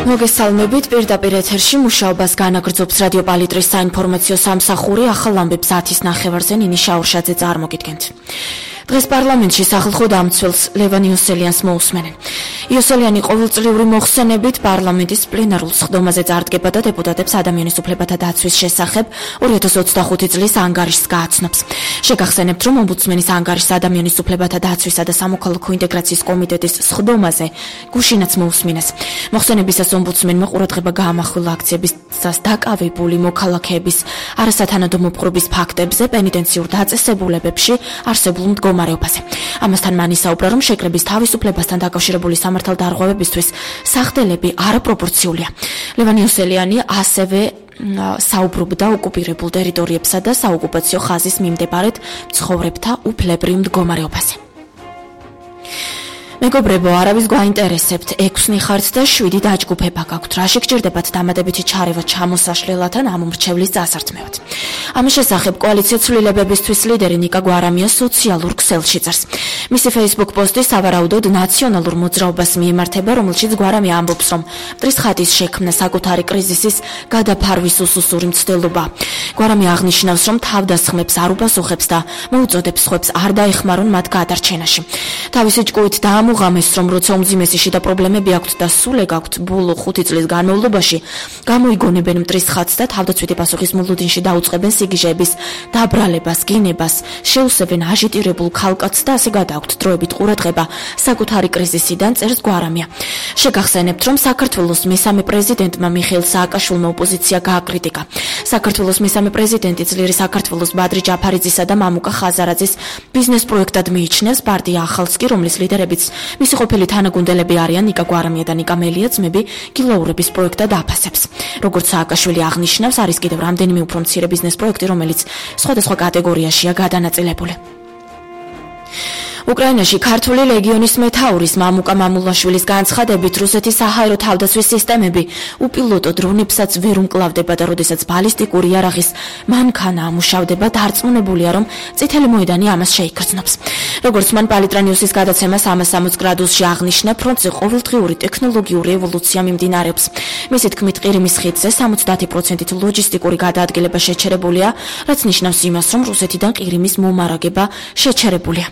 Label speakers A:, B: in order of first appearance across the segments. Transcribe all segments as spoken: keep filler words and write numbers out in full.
A: მოგესალმებით, პირდაპირ ეთერში მუშაობას განაგრძობს რადიო პალიტრის საინფორმაციო სამსახური, ახალ ამბებს ათის ნახევარზე ნინი შაურშაძე წარმოგიდგენთ. დღეს პარლამენტში სახალხო დამცველს ლევან იოსელიანს მოусმენენ. იოსელიანი ყოველწლიური მოხსენებით პარლამენტის პლენარულ სხდომაზე წარდგება და დეპუტატებს ადამიანის უფლებათა დაცვის შესახებ ორი ათას ოცდახუთი წლის ანგარიშს გააცნობს. შეგახსენებთ, რომ ომბუდსმენის ანგარიშს ადამიანის უფლებათა დაცვისა და სამოქალაქო ინტეგრაციის კომიტეტის სხდომაზე გუშინაც მოусმინეს. მოხსენებისას ომბუდსმენმა ყურადღება გაამახვილა აქციებისას დაკავებული მოქალაქეების არასათანადო მოპყრობის ფაქტებზე პენიტენციურ დაწესებულებებში არსებულ მდგომარეობაზე. ამასთან მან ისაუბრა, რომ შეკრების თავისუფლებასთან დაკავშირებული სამართალდარღვევებისთვის სახდელები არაპროპორციულია. ლევან იოსელიანი ასევე საუბრობდა ოკუპირებულ ტერიტორიებსა და საოკუპაციო ხაზის მიმდებარედ მცხოვრებთა უფლებრივ მდგომარეობაზე. მეგობრებო, არავის გვაინტერესებთ, ექვსი ხართ და შვიდი დაჯგუფება გაქვთ. რაში გჭირდებათ დამატებითი ჩარევა ჩამოსაშლელად ან ამ მრჩევლის წასართმევად. ამის შესახებ კოალიცია ცვლილებებისთვის ლიდერი ნიკა გვარამია სოციალურ ქსელში წერს. მისი Facebook პოსტი სავარაუდოდ ნაციონალურ მოძრაობას მიემართება, რომელშიც გვარამია ამბობს, რომ მტრის ხატის შექმნა საკუთარი კრიზისის გადაფარვის უსუსური მცდელობა. გვარამია აღნიშნავს, რომ თავდასხმებს არ უპასუხებს და მოუწოდებს სხვებს არ დაეხმარონ მათ გადარჩენაში. თავისი ჭკუით დაამუღამეს, რომ როცა უმძიმესი შიდა პრობლემები აქვთ და სულ ეგ აქვთ ბოლო ხუთი წლის განმავლობაში, გამოიგონებენ მტრის ხატს და თავდაცვითი პასუხის მოლოდინში დაუწყებენ სიგიჟეების დაბრალებას, გინებას, შეუსებენ აჟიტირებულ ქალკაცს და ასე გადააქვთ დროებით ყურადღება საკუთარი კრიზისიდან, წერს გვარამია. შეგახსენებთ, რომ საქართველოს მესამე პრეზიდენტმა მიხეილ სააკაშვილმა ოპოზიცია გააკრიტიკა. საქართველოს მესამე პრეზიდენტი ძლიერი საქართველოს ბადრი ჯაფარიძისა და მამუკა ხაზარაძის ბიზნეს პროექტად მიიჩნევს პარტია ახალს კი, რომლის ლიდერებიც მისი ყოფილი თანაგუნდელები არიან ნიკა გვარამია და ნიკა მელია ძმები გილაურების პროექტად აფასებს. როგორც სააკაშვილი აღნიშნავს, არის კიდევ რამდენიმე უფრო მცირე ბიზნეს პროექტი, რომელიც სხვადასხვა კატეგორიაშია გადანაწილებული. უკრაინაში ქართული ლეგიონის მეთაურის მამუკა მამულაშვილის განცხადებით, რუსეთის საჰაერო თავდაცვის სისტემები უპილოტო დრონებსაც ვერ უმკლავდება და როდესაც ბალისტიკური იარაღის მანქანა ამუშავდება, დარწმუნებულია, რომ წითელი მოედანი ამას შეიგრძნობს. როგორც მან პალიტრანიუსის გადაცემას სამას სამოცი გრადუსში აღნიშნა, ფრონტზე ყოველდღიური ტექნოლოგიური ევოლუცია მიმდინარეობს. მისი თქმით, ყირიმის ხიდზე სამოცდაათი პროცენტით ლოჯისტიკური გადაადგილება შეჩერებულია, რაც ნიშნავს იმას, რომ რუსეთიდან ყირიმის მომარაგება შეჩერებულია.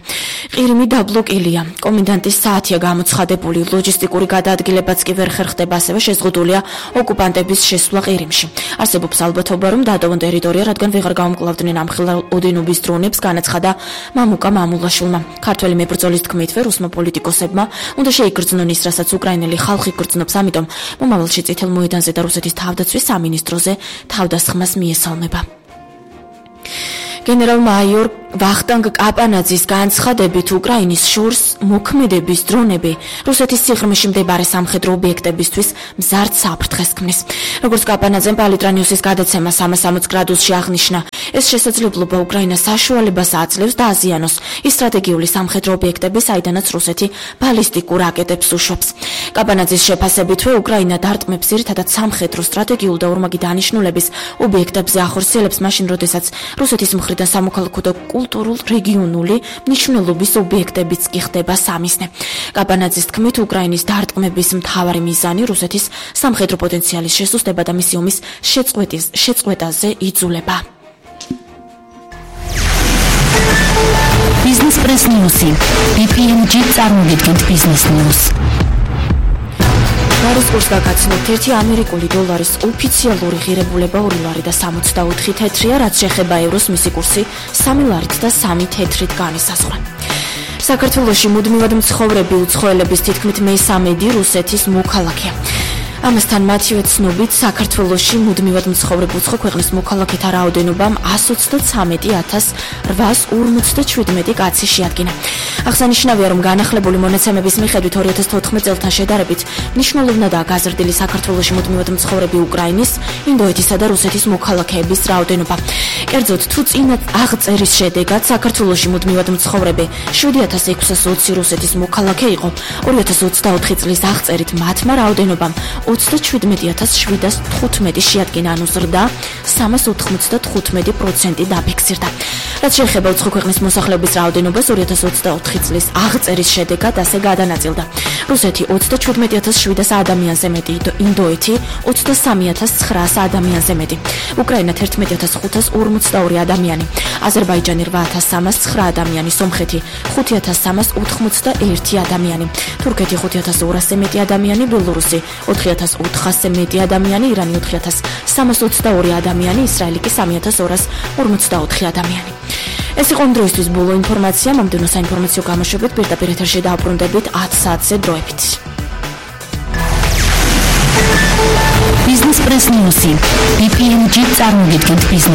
A: ყირიმი დაბლოკილია. კომენდანტის საათია გამოცხადებული, ლოჯისტიკური გადაადგილებაც კი ვერ ხერხდება, ასევე შეზღუდულია ოკუპანტების შესვლა ყირიმში. არსებობს ალბათობა, რომ დატოვონ ტერიტორია, რადგან ვეღარ გაუმკლავდნენ ამხელა ოდენობის დრონებს, განაცხადა მამუკა მამულაშვილმა. ქართველი მებრძოლის თქმით, რუსმა პოლიტიკოსებმა უნდა შეიგრძნონ ის, რასაც უკრაინელი ხალხი გრძნობს, ამიტომ მომავალში წითელ მოედანზე და რუსეთის თავდაცვის სამინისტროზე თავდასხმას მიესალმება. გენერალ-მაიორ ვახტანგ კაპანაძის განცხადებით, უკრაინის შორს მოქმედების დრონები რუსეთის სიღრმეში მდებარე სამხედრო ობიექტებისთვის მზარდ საფრთხეს ქმნის. როგორც კაპანაძემ პალიტრანიუსის გადაცემა სამას სამოცი გრადუსში აღნიშნა, ეს შესაძლებლობა უკრაინას საშუალებას აძლევს დააზიანოს ის სტრატეგიული სამხედრო ობიექტები, საიდანაც რუსეთი ბალისტიკურ რაკეტებს უშვებს. კაპანაძის შეფასებითვე, უკრაინა დარტყმებს ძირითადად სამხედრო, სტრატეგიულ და ორმაგი დანიშნულების ობიექტებზე ახორციელებს მაშინ, როდესაც რუსეთის მხრიდან სამოქალაქო და კულტურულ რეგიონული მნიშვნელობის ობიექტებიც კი ხდება სამიზნე. კაპანაძის თქმით, უკრაინის დარტყმების მთავარი მიზანი რუსეთის სამხედრო პოტენციალის შესუსტება და მისი ომის შეწყვეტაზე იძულება.
B: Business Press News. ბი პი ემ ჯი წარმოგიდგენთ Business News.
A: დოლარის კურსს გაგაცნობთ, ერთი ამერიკული დოლარის ოფიციალური ღირებულება ორი ლარი და სამოცდაოთხი თეთრია, რაც შეეხება ევროს, მისი კურსი სამი ლარით და სამი თეთრით განისაზღვრა. საქართველოში მუდმივად მცხოვრები უცხოელების თითქმით მესამედი რუსეთის მოქალაქეა. ამასთან მათივე ცნობით, საქართველოში მუდმივად მცხოვრებ უცხო ქვეყნის მოქალაქეთა რაოდენობამ ასი ოცდათვრამეტი ათას რვაას ორმოცდაჩვიდმეტი კაცი შეადგინა. აღსანიშნავია, რომ განახლებული მონაცემების მიხედვით ორი ათას თოთხმეტ წელთან შედარებით მნიშვნელოვნადაა გაზრდილი საქართველოში მუდმივად მცხოვრები უკრაინის, ინდოეთისა და რუსეთის მოქალაქეების რაოდენობა. კერძოდ, თუ წინა აღწერის შედეგად საქართველოში მუდმივად მცხოვრები შვიდი ათას ექვსას ოცი რუსეთის მოქალაქე იყო, ორი ათას ოცდაოთხი წლის აღწერით მათმა რაოდენობამ ოცდაჩვიდმეტი ათას შვიდას თხუთმეტი შეადგინა, ანუ ზრდა სამას ოთხმოცდათხუთმეტი პროცენტი დაფიქსირდა. რაც შეეხება უცხო ქვეყნის მოსახლეობის რაოდენობას, ორი ათას ოცდაოთხი წლის აღწერის შედეგად ასე გადანაწილდა. რუსეთი ოცდაჩვიდმეტი ათას შვიდას ადამიანზე მეტი, ინდოეთი ოცდასამი ათას ცხრაას ადამიანზე მეტი, უკრაინა თერთმეტი ათას ხუთას ორმოცდაორი ადამიანი, აზერბაიჯანი რვა ათას სამას ცხრა ადამიანი, სომხეთი ხუთი ათას სამას ოთხმოცდაერთი ადამიანი, თურქეთი ხუთი ათას ორასზე მეტი ადამიანი, ბელორუსი ოთხი ათას ოთხასზე მეტი ადამიანი, ირანი ოთხი ათას სამას ოცდაორი ადამიანი, ისრაელი კი სამი ათას ორას ორმოცდაოთხი ადამიანი. ეს იყო დროისთვის ბოლო ინფორმაცია. მომდევნო საინფორმაციო გამოშვებით პირდაპირ ეთერში დაუბრუნდებით ათ საათზე დროებით.
B: Business Press News. ბი პი ემ ჯი წარმოგიდგენთ ბიზნეს